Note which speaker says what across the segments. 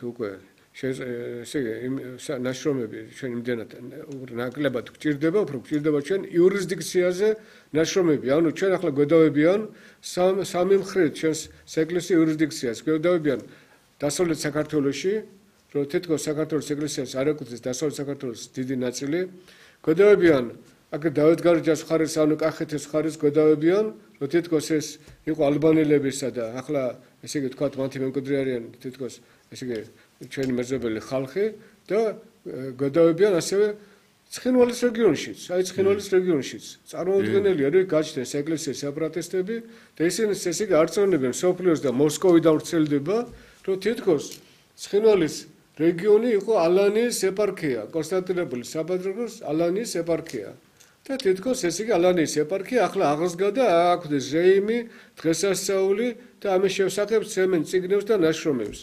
Speaker 1: უკვე ნაშრომები ჩვენ იმდენად ნაკლებად გვჭირდება, უფრო გვჭირდება ჩვენ იურისდიქციაზე ნაშრომები. ანუ ჩვენ ახლა გვედავებიან სამი მხრით ჩვენს ეკლესიის იურისდიქციას. გვედავებიან დასავლეთ საქართველოში, რომ თითქოს საქართველოს ეკლესიას არ ეკუთვნის დასავლეთ საქართველოს დიდი ნაწილი. გვედავებიან აქ დავითგარეჯას მხარეს, ანუ კახეთის მხარეს გვედავებიან, რომ თითქოს ეს იყო ალბანელებისა და ახლა ესე იგი თქვათ მათი მემკვიდრე არიან თითქოს ესე იგი ჩვენი მეზობელი ხალხი და გადავებიან ასევე ცხინვალის რეგიონშიც, აი ცხინვალის რეგიონშიც. წარმოუდგენელია, რომ გაჩნდეს ეკლესიის სეპარატისტები და ისინი ესე იგი არწმუნებენ სოფლიოს და მოსკოვიდან ვრცელდება, რომ თითქოს ცხინვალის რეგიონი იყო ალანიის ეპარქია, კონსტანტინოპოლის საპატრიარქოს ალანიის ეპარქია. და თითქოს ესე იგი ალანიის ეპარქია ახლა აღსდგა და აქვთ ზეიმი, დღესასწაული და ამის შესახებ ცემენ წიგნებს და ნაშრომებს.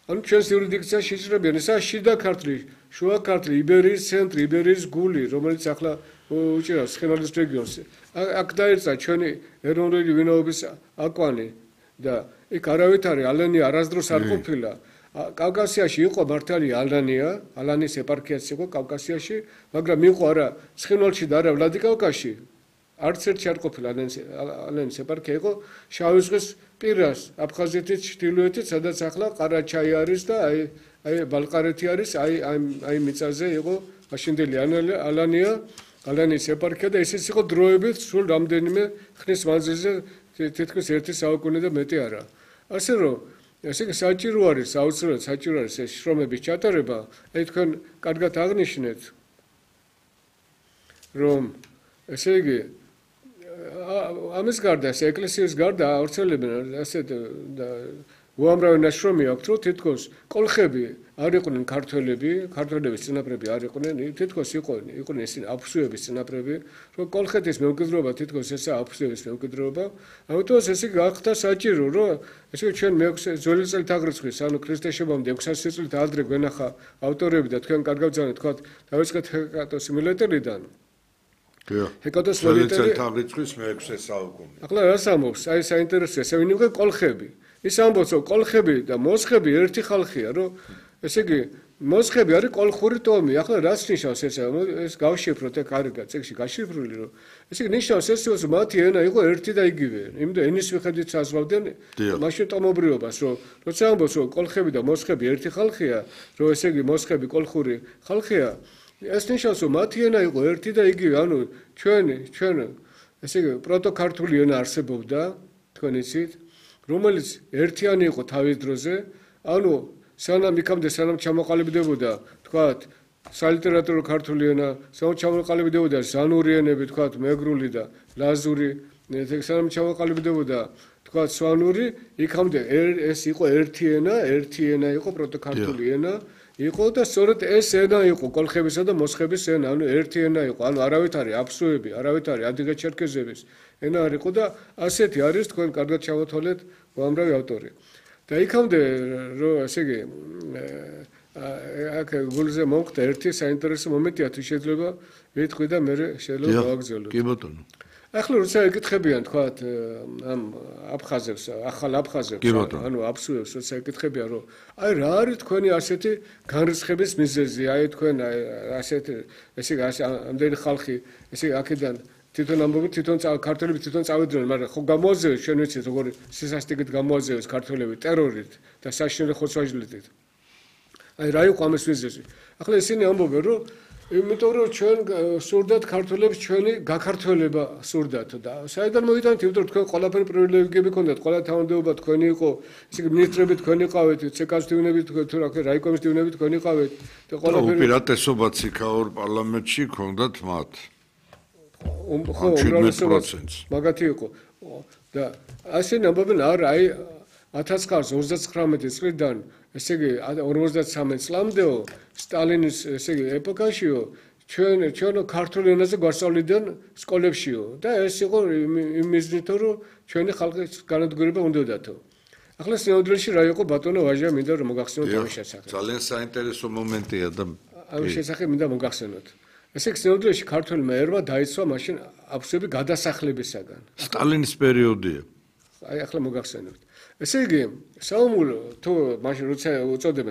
Speaker 1: ანუ ჩვენს იურისდიქციაში იჭრებიან ესა შიდა ქართლი, შუა ქართლი, იბერიის ცენტრი, იბერიის გული, რომელიც ახლა უჭირავს ცხინვალის რეგიონს. აქ დაეცა ჩვენი ეროვნული ვინაობის აკვანი და იქ არავითარი ალანია არასდროს არ ყოფილა. კავკასიაში იყო მართალი ალანია, ალანის ეპარქიაც იყო კავკასიაში, მაგრამ იყო არა ცხინვალში და არა ვლადიკავკაზში. არც ერთში არ ყოფილა ალანის ეპარქია, იყო შავი ზღვის პირას, აფხაზეთის ჩრდილოეთით, სადაც ახლა ყარაჩაი არის და აი ბალყარეთი არის, აი მიწაზე იყო მაშინდელი ალანია, ალანის ეპარქია და ესეც იყო დროებით სულ რამდენიმე ხნის მანძილზე, თითქმის 1 საუკუნე და მეტი არა. ასე რომ ესე იგი საჭირო არის, აუცილებლად საჭირო არის ეს შრომების ჩატარება, აი თქვენ კარგად აღნიშნეთ, რომ ესე იგი ამის გარდა, ეს ეკლესიის გარდა ავრცელებენ ასეთ უამრავი ნაშრომი აქვს, რომ თითქოს კოლხები არ იყვნენ ქართველების წინაპრები არ იყვნენ, თითქოს იყვნენ ისინი აფსუების წინაპრები, რომ კოლხეთის მემკვიდრეობა თითქოს ესაა აფსუების მემკვიდრეობა, ამიტომ ესე გახდა საჭირო, რომ ესე ჩვენ მე-6 ძველი წელთაღრიცხვის, ანუ ქრისტეს შობამდე 600 წლით ადრე გვენახა ავტორები და თქვენ კარგად ძანეთ, თქვათ დავიწყეთ ჰეკატოს მილეტერიდან. ჰეკატოს მილეტერი
Speaker 2: წელთაღრიცხვის მე-6 საუკუნე.
Speaker 1: ახლა რას ამბობს? აი საინტერესოა, ესე ვინმე კოლხები. ის ამბობს, რომ კოლხები და მოსხები ერთი ხალხია, რომ ესე იგი მოსხები არის კოლხური ტომი. ახლა რას ნიშნავს ეს გავშიფროთ აქ არის წიგნში გაშიფრული, რომ ესე იგი ნიშნავს ეს, რომ მათი ენა იყო ერთი და იგივე. იმიტომ ენის მიხედვით საზღვავდნენ მაშინ ტომობრიობას, რომ როცა ამბობს, რომ კოლხები და მოსხები ერთი ხალხია, რომ ესე იგი მოსხები კოლხური ხალხია, ეს ნიშნავს, რომ მათი ენა იყო ერთი და იგივე. ანუ ჩვენ ესე იგი პროტოქართული ენა არსებობდა, თქვენ იცით, რომელიც ერთიანი იყო თავის დროზე, ანუ სანამ ჩამოყალიბდებოდა, თქვათ, სალიტერატურო ქართული ენა, სანამ ჩამოყალიბდებოდა ზანური ენები, თქვათ, მეგრული და ლაზური, სანამ ჩამოყალიბდებოდა, თქვათ, სვანური, იქამდე ეს იყო ერთი ენა იყო პროტოქართული ენა, იყო და სწორედ ეს ენა იყო კოლხებისა და მოსხების ენა, ანუ ერთი ენა იყო, ანუ არავით არის აფსუები, არავით არის ადიგა-ჩერქეზების ენა არ იყო და ასეთი არის თქვენ კარგად ჩავათვალეთ უამრავი ავტორი. და იქამდე რომ ესე იგი აქ გულზე მომხდა ერთი საინტერესო მომენტია, თუ შეიძლება ვიტყვი და მე შეიძლება გავაგზავნო.
Speaker 2: კი ბატონო.
Speaker 1: ახლა როცა ეკითხებიან თქვათ ამ აფხაზებს, ახალ აფხაზებს, ანუ აფსუებს, როცა ეკითხებიან, რომ აი რა არის თქვენი ასეთი განრისხების მიზეზი, აი თქვენ ასეთი ესე ამდენი ხალხი ესე აქედან თვითონ ამბობთ, ქართველები თვითონ წავიდნენ, მაგრამ ხო გამოაზევეს, ჩვენ ვიცით, როგორი სისასტიკით გამოაზევეს ქართველები ტერორით და საშინელი ხოცვაჟლით. აი რა იყო ამის მიზეზი? ახლა ისინი ამბობენ, რომ იმიტომ რომ ჩვენ სურდათ ქართველებს ჩვენი გაქართველება სურდათ და საიდან მოიტანეთ, იმიტომ რომ თქვენ ყველაფერი პრივილეგიები გქონდათ, ყველა თანამდებობა თქვენი იყო, ისე ministrები თქვენი ყავით, ЦК-ს დივნები თუ რა ქვია, რაიკომის დივნები თქვენი ყავით და ყველაფერი
Speaker 2: უპირატესობაც იქაურ პარლამენტში გქონდათ მათ.
Speaker 1: ხო, უმრავლესობაც მაგათი იყო. და ასე ამბობენ, არა, აი 1939 წლიდან, ესე იგი 53 წლამდეო სტალინის ესე იგი ეპოქაშიო ჩვენ ქართულ ენაზე გვასწავლიდნენ სკოლებშიო და ეს იყო იმ მიზნით, რომ ჩვენი ხალხის განადგურება უნდათო. ახლა სინამდვილეში რა იყო ბატონო ვაჟა, მინდა რომ მოგახსენოთ ამის შესახებ.
Speaker 2: ძალიან საინტერესო მომენტია და
Speaker 1: ამის შესახებ მინდა მოგახსენოთ. ესე იგი სინამდვილეში ქართველმა ერმა დაიცვა მაშინ აფსუები გადასახლებისაგან.
Speaker 2: სტალინის პერიოდია.
Speaker 1: აი ახლა მოგახსენებთ. ესე იგი, საომულო თუ მაშინ როცა უწოდებენ